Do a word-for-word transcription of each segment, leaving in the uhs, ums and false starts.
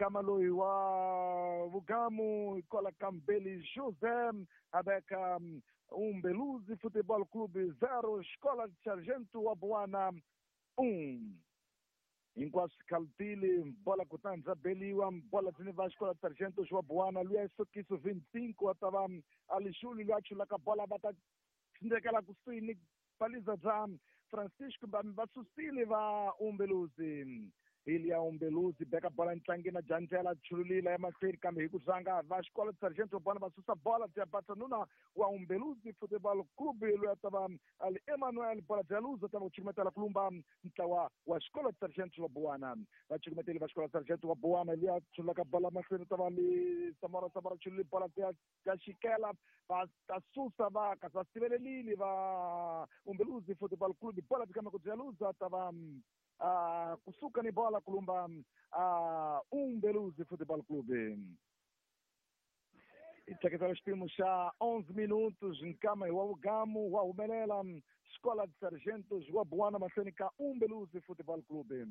Nkama loyi wa Vugamu kwala ka Mbeli José a veka Umbeluzi Futebol Clube zero, Escola de Sargento wa Buana um. Hinkwaswo swi khalutile, bola kutani bya beliwa, bola byi ni va Escola de Sargento wa Buana luya Sokiso vinte e cinco wa ta va Alixuli luya chulaka bola va ta tsindzekela kusuhi ni baliza bya Francisco va susile va Umbeluzi. Ilia Umbeluzi beka bola ntlangeni na Janjela chululila emahlweni kambe hi ku zanga va Escola de Sargento wa Buana va susa bola bya Batsanuna wa Umbeluzi Futebol Clube loyi a ta va ali Emmanuel, bola bya luza ta va ku cukumetela kulumba ntlawa wa Escola de Sargento wa Buana. Va cukumeteli va Escola de Sargento wa Buana, luya chululaka bola mahlweni ta va li Samora, Samora chululi bola bya bya xikela va ta susa va kasi va sivelelile va Umbeluzi Futebol Clube, bola byi kama ku bya luza ta va uh, kusuka ni bola kulumba uh, Umbeluzi Futebol Clube. Hi tleketela xipimo xa onze minutos, nkama hi wa Vugamu wa humelela Escola de Sargentos wa Buana mahlweni ka Umbeluzi Futebol Clube.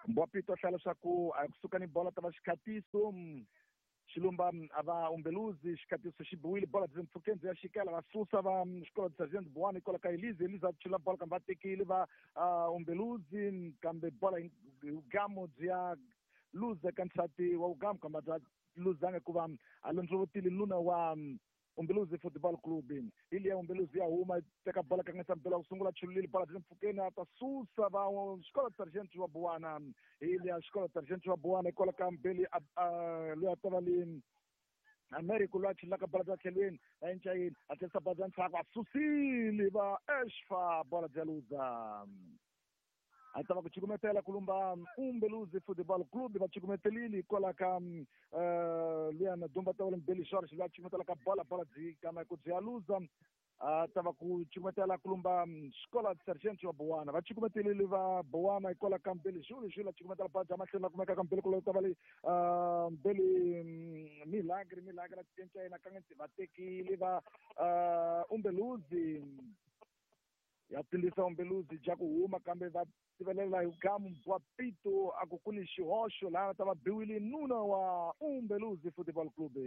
Mbwapito a hlaya leswaku a kusuka ni bola ta va xikhatiso xilumba a va Umbeluzi, xikhatiso xi biwile, bola byi mpfhukeni byi ya xikela va susa va Escola de Sargento Buana kwala ka Elise, Elise a chula bola kambe va tekile va Umbeluzi kambe bola Vugamu byi ya luza ka nsati wa Vugamu kambe bya luzanga hikuva a londzovotile nuna wa Umbeluzi Football Club. Ili ya Umbeluzi ya huma teka bola kanganyisa mpela ku sungula chululile bola byi mpfhukeni a ta susa va Escola de Sargento wa Buana. Ili ya Escola de Sargento wa Buana kwala ka Mbeli loyi a ta va li Americo loyi a chululaka bola bya tlhelweni a enca yini a tlherisa bola bya ndzhaku a susile va Eshfa bola bya luza a ta va ku cukumetela kulumba Umbeluzi Football Club va cukumetelile kwala ka luya na dumba ta wale Mbeli George loyi a cukumetela ka bola, bola byi kama ku byi ya luza a ta va ku cukumetela kulumba Escola de Sargento wa Buana. Va cukumetelile va Buana kwala ka Mbeli Jules, Jules a cukumetela bola bya mahlweni la kumeka ka Mbeli kulo ta va le Mbeli Milagre, Milagre a cinca yena kanganyisi va tekile va Umbeluzi ya tindisa Umbeluzi bya ku huma kambe va tivelela hi gamu wa pito a ku ku ni xihoxo laha ta va biwile nuna wa Umbeluzi Football Club.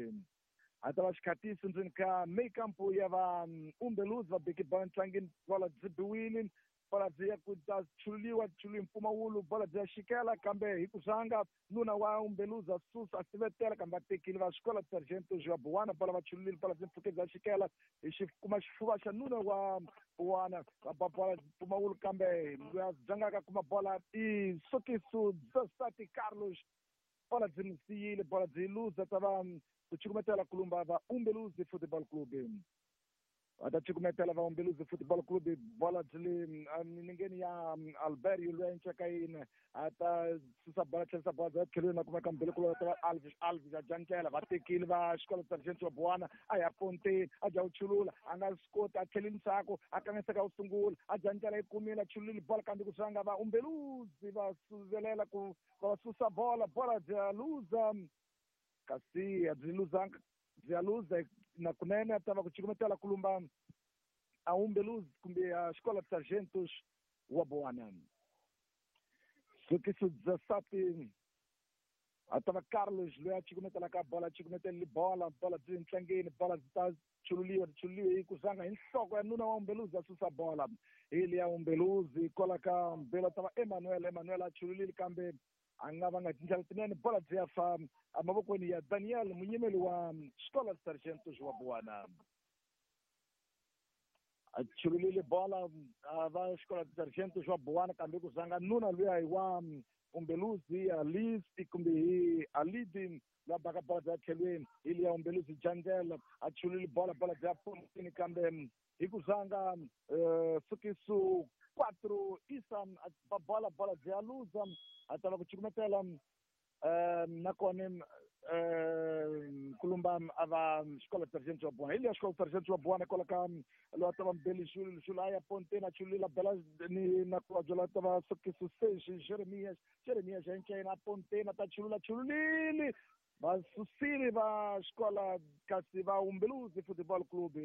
A ta va xikhatiso ndzeni ka meikampo ya va Umbeluzi va beke bola ntlangeni, bola byi biwile, bola byi ya ku ta chululiwa chululiwe mpfumawulo, bola byi ya xikela kambe hi ku zanga nuna wa Umbeluzi a susa a sivetela kambe va tekile va Escola de Sargento wa Buana bola va chululile bola byi mpfhukeni bya xikela hi xi kuma xifuva xa nuna wa Buana va ba bola mpfumawulo kambe loyi a dzangaka kuma bola i Sokiso Zasati Carlos, bola byi n'wi siyile, bola byi luza ta va ku cukumetela kulumba va Umbeluzi Football Club. Va ta cukumetela va Umbeluzi Football Club, bola byi le milengeni ya Alberio loyi a encaka yini a ta susa bola tlherisa bola bya tlhelweni na kumeka Mbeli kulo ta va Alves, Alves a jankela va tekile va Escola de Sargento wa Buana a ya ponteni a dya ku chulula a nga swi koti a tlhelile ndzhaku a kanganyiseka ku sungula a jankela yi kumile a chululile bola kambe ku swanga va Umbeluzi va suvelela ku va susa bola, bola bya luza kasi a byi luzanga byi ya luza na kunene a ta va ku cukumetela kulumba a Umbeluzi kumbe a Escola de Sargentos wa Buana. Sokiso Zasati a ta va Carlos loyi a cukumetelaka bola a cukumetelile bola, bola byi ntlangeni, bola byi ta chululiwa chululiwe hi ku zanga hi nhloko ya nuna wa Umbeluzi a susa bola. Ili ya Umbeluzi kwala ka Mbeli a ta va Emmanuel, Emmanuel a chululile kambe a nga va nga tindlela tinene, bola byi ya fa emavokweni ya Daniel munyimeli wa Escola de Sargentos wa Buana. A chululile bola va Escola de Sargentos wa Buana kambe ku zanga nuna luya hi wa Umbeluzi Alice kumbe hi Alidi la baka bola bya tlhelweni. Ili ya Umbeluzi Jandela a chulile bola, bola bya pontini kambe hi ku zanga Sukiso quatro Isa ba bola, bola bya luza a ta va ku cukumetela nakona kulumba a va Escola de Sargento wa Buana. Ili ya Escola de Sargento wa Buana kwala ka loyi a ta va Mbeli Jules, Jules a ya ponteni a chulula bela ni na kulobye loyi a ta va Sokiso seis Jeremias, Jeremias a enca yena a ponteni a ta chulula chululile va susile va Escola kasi va Umbeluzi Football Club.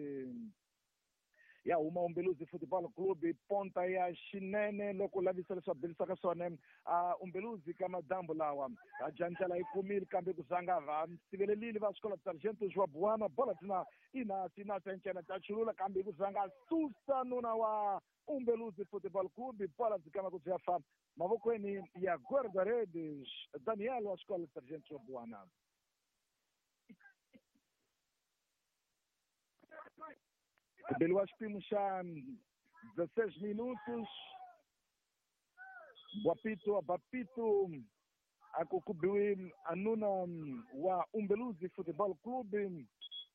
Ya huma Umbeluzi Football Club ponta ya xinene loko lavisa leswi bilisaka swona a Umbeluzi ka madambu lawa a jandlela yi kumile kambe ku zanga va sivelelile va xikolo Sargento wa Buwana bola tina ina tina sencena ta chulula kambe ku zanga susa nuna wa Umbeluzi Football Club bola dzikama ku bya fa mavokweni ya guarda-redes Daniel wa xikolo Sargento wa Buwana. Beliwa xipimo xa dezesseis minutos. Bwapito Bapito akukubiwi anuna wa Umbeluzi Football Club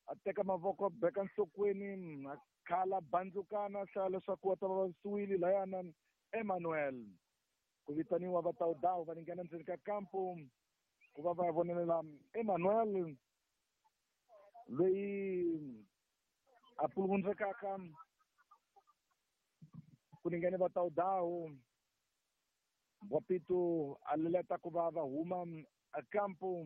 a teka mavoko beka nhlokweni a khala bandzukana hlaya leswaku wa ta va vavisiwile layana Emmanuel ku vitaniwa va tawudawu va nghena ndzeni ka kampo ku va va vonelela Emmanuel loyi a puluvundzekaka ku ningene va tawudawu Bwapito a leleta ku va va huma a kampo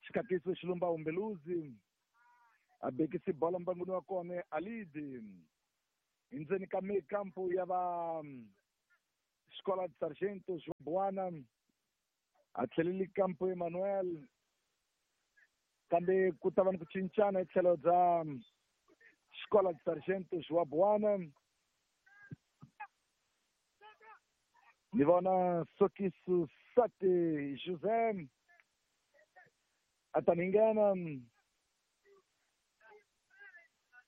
xikatiso xilumba Umbeluzi a bekisi bola mbanguni wa kona Alidi endzeni ka meio campo ya va Escola de Sargentos Buana a tlheleli kampo Emmanuel kambe ku ta va ni ku cincana hi tlhelo bya Escola de Sargentos wa Buana ni vona Sokiso Sate José a ta ni nghena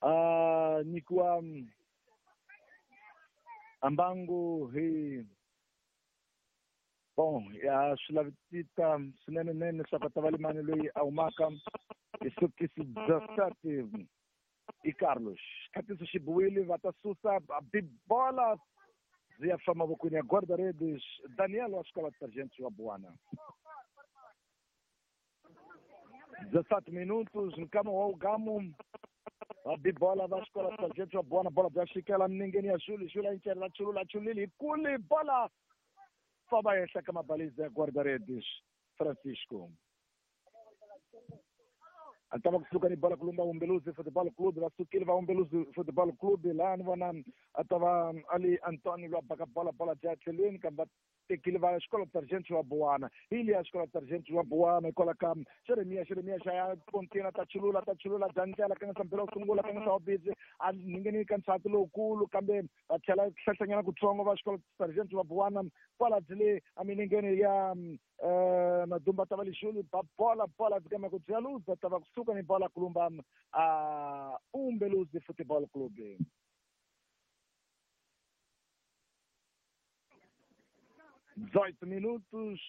a nyikiwa ambangu hi bon ya swi lavisita swinene nene leswaku a ta va limani loyi a humaka hi Sokiso Sate i Carlos xikatiso xi biwile va ta susa bibola byi ya fa mavokweni ya guarda-redes Daniel wa xikolo Sargento wa Buwana. Dezessete minutos nkama wa ugamu va bibola va xikolo Sargento wa Buwana bola bya xikela minengeni ya Juli Juli a yincela chulula chulile hi kuli bola famba henhla ka mabaliza ya guarda-redes Francisco a ta va kusuka ni bola kulumba Umbeluzi Football Club va sukile va Umbeluzi Football Club laha ni vona a ta va ali Antonio lwa baka bola bola bya tlhelweni kambe va tekile va xikolo Sargento wa Buwana hi liya xikolo Sargento wa Buwana hikwalaho ka Jeremia Jeremia xa ya pontini ta chulula ta chulula bya ndlela ka nga mpela wo sungula ka nga busy a ningeni ka nsati lowukulu kambe va tlhela hlahlanyana kutsongo va xikolo Sargento wa Buwana kwala byi le eminengeni ya Madumba ta va lexulu ba bola bola byi kama ku bya luza ta va kusuka ni bola kulumba a Umbeluzi Football Club. dezoito minutos,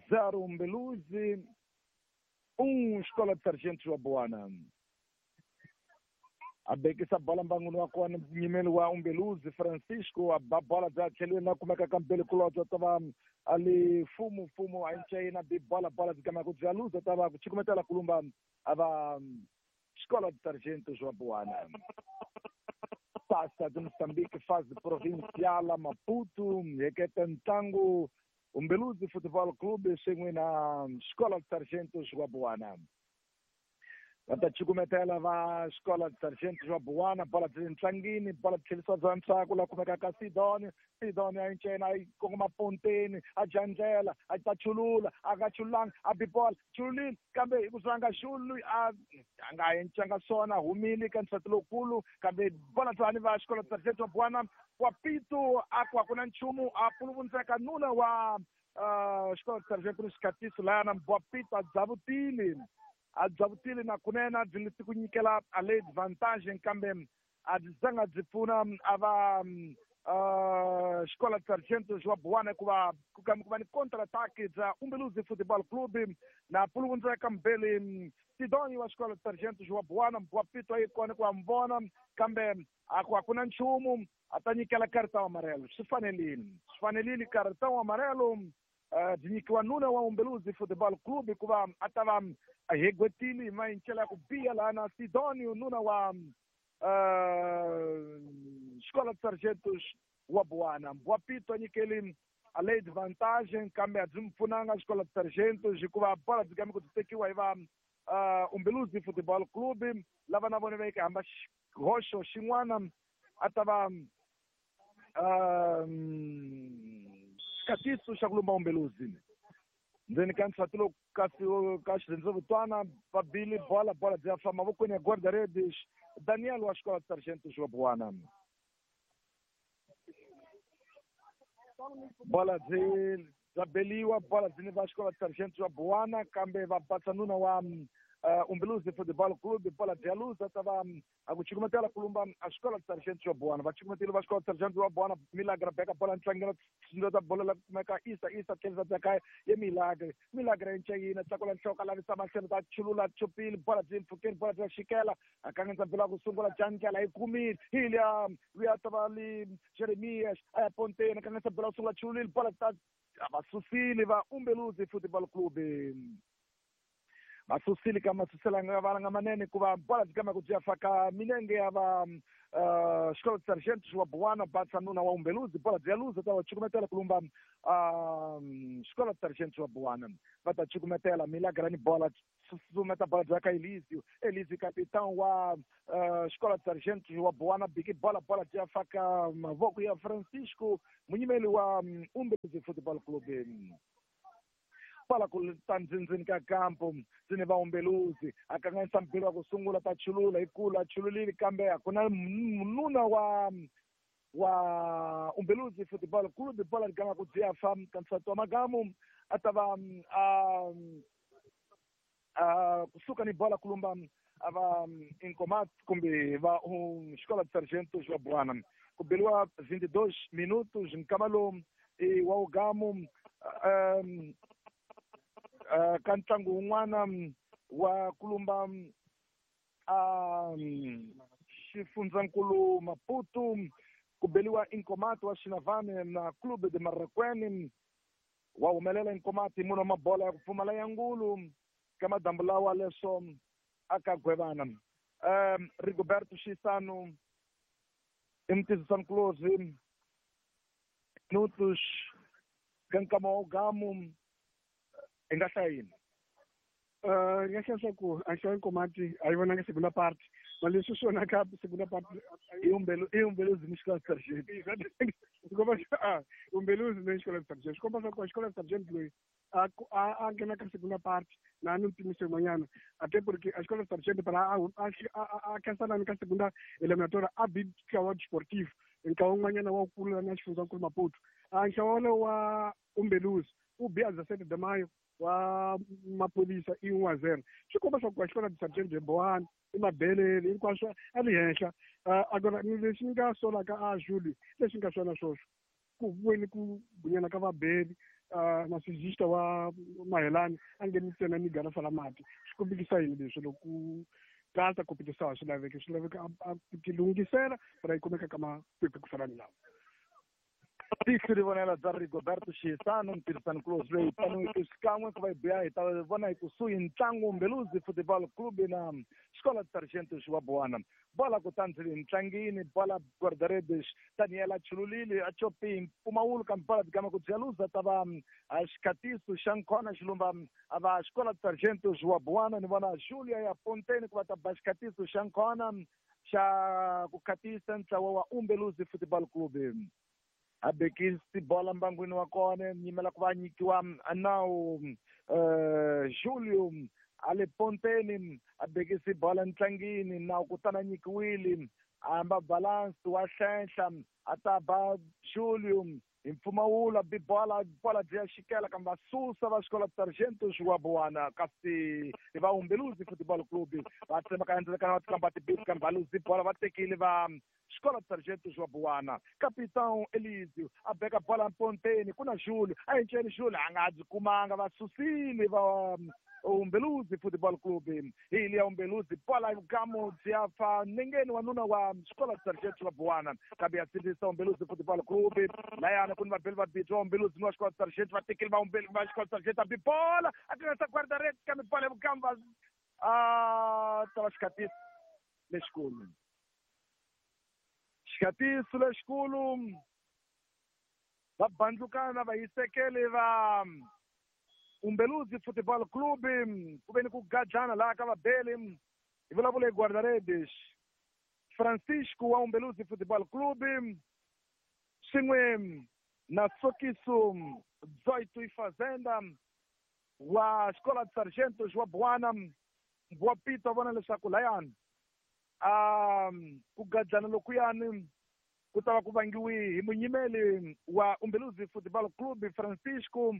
zero Umbeluzi, um Escola de Sargentos wa Buwana. A bekisa bola mbanguni wa kona nyimeli wa Umbeluzi Francisco a ba bola bya tlhelweni na kumeka ka mbele kulobye ta va ali fumu fumu a ncayina bi bola bola byi kama ku bya luza ta va ku chikumetela kulumba a va Escola de Sargentos wa Buwana. Taça de Moçambique, fase provincial Maputo, heketa ntlangu Umbeluzi Football Club swin'we na Escola de Sargentos wa Buwana. Va ta cukumetela va Escola de Sargentos wa Buwana bola byi le ntlangini bola tlhelisa bya ntsako la kumeka ka Sidoni Sidoni a yincena a yi kongoma ponteni a dya ndlela a ta chulula a nga chululanga a bi bola chululile kambe hi ku zanga xulu a a nga encanga swona humile ka nsati lowukulu kambe bola byani va Escola de Sargento wa Buwana wa Pito a ku a ku na nchumu a puluvundzeka nuna wa Escola de Sargento ni xikatiso layana wa Pito a dzavutile a dzavutile na kunene a byi leti ku nyikela a le advantage kambe a byi zanga byi pfuna a va Escola de Sargentos wa Buwana hikuva ku kambe ku va ni counter attack bya Umbeluzi Football Club na puluvundzeka mbele Sidoni wa Escola de Sargentos wa Buwana wa Pito a yi kona ku va mi vona kambe a ku a ku na nchumu a ta nyikela cartão amarelo swi fanelile swi fanelile cartão amarelo byi nyikiwa nuna wa Umbeluzi Football Club hikuva a ta va a hegwetile hi mayincela ya ku biha laha na Sidonio nuna wa Escola de Sargentos wa Buwana wa Pito a nyikeli a le advantage kambe a byi mi pfunanga Escola de Sargentos hikuva bola byi kame ku byi tekiwa hi va uh, Umbeluzi Futebol Clube lava na vona va yeke hamba xihoxo xin'wana a ta va xikatiso xa ku lumba Umbeluzi ndzeni ka nsati lowu kasi ka xirhendzevutwana va bile bola bola byi ya famba mavokweni ya guarda-redes Daniel wa xikola Sargento Joabuana bola byi bya beliwa bola byi ni va xikola Sargento Joabuana kambe va batsa nuna wa uh, Umbeluzi Futebol Clube bola byi ya luza ta va a ku cukumetela ku lumba a xikola Sargento Joabuana va cukumetile va xikola Sargento Joabuana Milagre beka bola ntlangela ta bola la kumeka Isa Isa tlhelisa bya kaya ye Milagre Milagre enceyina tlakula nhloko lavisa mahlelo ta chulula chupile bola byi mpfhukeni bola bya xikela a kanganyisa bola ku sungula jandlela yi kumile hi liya luya ta va li Jeremias a ya ponteni a kanganyisa bola ku sungula chululile bola ta va susile va Umbeluzi Futebol Clube va susile ka masuselanga valanga manene ku va bola byi kama ku byi ya faka minenge ya va uh, xikolo Sargento Joabuana batsa nuna wa Umbeluzi bola byi ya luza ta va cukumetela ku lumba uh, xikolo Sargento Joabuana va ta cukumetela Milagre ni bola susumeta bola bya ka Elizio Elizio capitão wa uh, xikolo Sargento Joabuana biki bola bola byi ya faka mavoko ya Francisco munyimeli wa um, Umbeluzi Futebol Clube bola ku ta ndzindzini ka kampo ndzini va Umbeluzi a kanganyisa mpilo wa ku sungula ta chulula hi kula chululile kambe a ku na nuna wa wa Umbeluzi Futebol Clube bola ligama ku byi ya fa ka nsati wa magamu a ta va a a kusuka ni bola kulumba a va Incomat kumbe va um, xikola de Sargento Joabuana ku beliwa vinte e dois minutos nkama lowu i wa ugamu um, Uh, ka ntlangu wun'wana wa kulumba um, xifundzankulu Maputo ku beliwa Incomat wa Xinavane na Clube de Marraquene wa humelela Incomat hi munhu wa mabola ya ku pfumala ya ngulu ka madambu lawa leswo a ka gwevana um, Rigoberto Xisano i mutizisani kulozi minutos ka nkama wa ugamu hi nga hlaya yini ni nga hlaya swa ku a hlaya Nkomati a yi vonanga segunda parte ma leswi swi vonaka segunda parte i Umbeluzi ni xikola Sargento swi komba a Umbeluzi ni xikola Sargento swi komba swa ku xikola Sargento loyi a a nghena ka segunda parte na ni mpimiso yin'wanyana ate porque a xikola Sargento phela a a khensanani ka segunda eliminatoria a bi ntlawa desportivo ntlawa wun'wanyana wa kula na xifundzankulu Maputo a ntlawa wolowo wa Umbeluzi u bi a dezessete de maio wa maphorisa i one a zero swi komba swa ku a xikola Sargento Joabuana i mabelele hinkwaswo a li henhla agora ni lexi ni nga solaka a Júlio lexi nga swona swoswo ku vweni ku bunyana ka vabeli na sijista wa Mahelani a ngheni ntsena ni garafa la mati swi kombekisa yini leswi loko ku tata competição swi laveka swi laveka a ti lunghisela para yi kumeka ka makwekwe ku fana ni lawa tihlo ri vonela bya Rigoberto Xisano ntirhisani kulozi loyi tanihi xikan'we ku va hi biya hi ta vona hi kusuhi ntlangu Umbeluzi Futebol Clube na xikola Sargento Joabuana bola kutani ndzi ntlangini bola guarda-redes Daniel a chululile a chopi mpfumawulo kambe bola byi ku bya luza ta va a xikhatiso xa nkhona xilumba a va xikola Sargento Joabuana ni vona Julia ya Ponteni ku va ta ba xikhatiso xa nkhona xa ku khatisa ntlawa wa Umbeluzi Futebol Clube a bekisi bola mbangwini wa kona nyimela ku va nyikiwa nawu uh, Julio a le ponteni a bekisi bola ntlangini nawu kutani a nyikiwile a hamba balance wa hlenhla a ta ba Julio hi mpfumawulo bi bola bola byi ya xikela kambe va susa va xikola Sargento Joabuana kasi va Umbeluzi Futebol Clube va tsemaka endzeni va tikamba tibisi kambe va luzi bola va tekile va xikola Sargento Joabuana capitão Elizio a beka bola mponteni ku na Julio a enceni Julio a nga byi kumanga va susile va Umbeluzi Futebol Clube hi liya Umbeluzi bola gamo byi ya fa nengeni wa nuna wa xikola Sargento Joabuana kambe ya sindzisa Umbeluzi Futebol Clube layana ku ni vabeli vabirhi va Umbeluzi ni wa xikola Sargento va tekile va Umbelu va xikola Sargento a bi bola a tirhisa guarda-redes kambe bola ya vukamba a ta va xikhatiso lexikulu xikhatiso lexikulu va bandlukana va hisekele va Umbeluzi Futebol Clube ku ve ni ku gajana laha ka vabeli hi vulavula hi guarda-redes Francisco wa Umbeluzi Futebol Clube swin'we na Sokiso Zoito e Fazenda wa Escola de Sargentos wa Buana wa Pito vona leswaku layani um ku gajana lokuyani ku ta va ku vangiwi hi munyimeli wa Umbeluzi Futebol Clube Francisco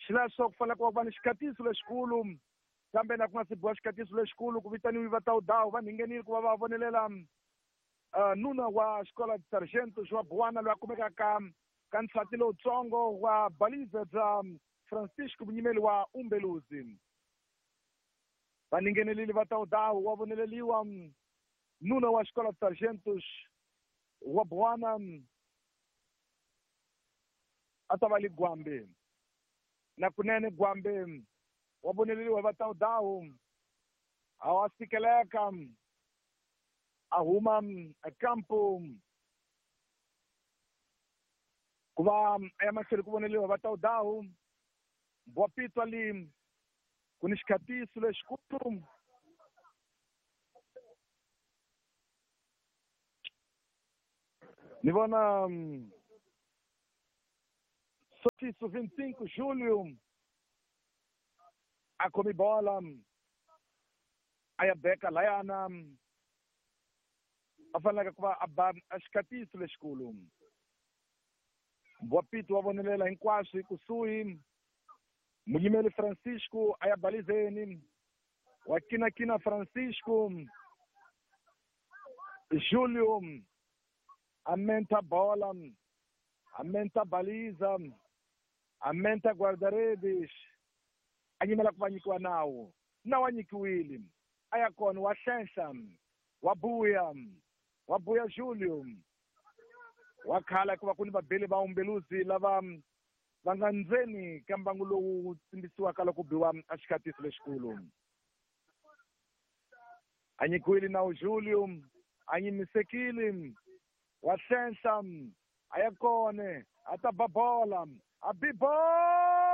xileswo ku fanele ku va ni xikatiso lexikulu kambe na ku nga si biwa xikatiso lexikulu ku vitaniwi va tawudawu va nghenile ku va va vonelela uh, nuna wa Escola de Sargentos wa Buana loyi a kumekaka ka nsati lowutsongo wa baliza bya Francisco munyimeli wa Umbeluzi va nghenelile va tawudawu wa voneleliwa nuna wa Escola de Sargentos wa Buana a ta va li Gwambe na kunene Gwambe wa voneleliwa va tawudawu a wa sikeleka a huma campo ku va a ya mahlweni ku voneliwa va tawudawu wa Pitwa li ku ni xikhatiso lexikulu ni vona Sokiso vinte e cinco Júlio a khomi bola a ya beka layana a faneleke ku va a ba a xikhatiso lexikulu wa Pito wa vonelela hinkwaswo kusuhi munyimeli Francisco a ya balizeni wa kinakina Francisco Júlio amenta bola amenta baliza amenta guarda-redes a nyimela ku va nyikiwa nawu nawu a nyikiwile a ya kona wa hlenhla wa buya wa buya Júlio wa khala ku va ku ni vabeli va Umbeluzi lava va nga ndzeni ka mbangu lowu tsimbisiwaka loko biwa a xikhatiso lexikulu a nyikiwile nawu Júlio a nyimisekile wa hlenhla a ya kone a ta ba bola a bi bola.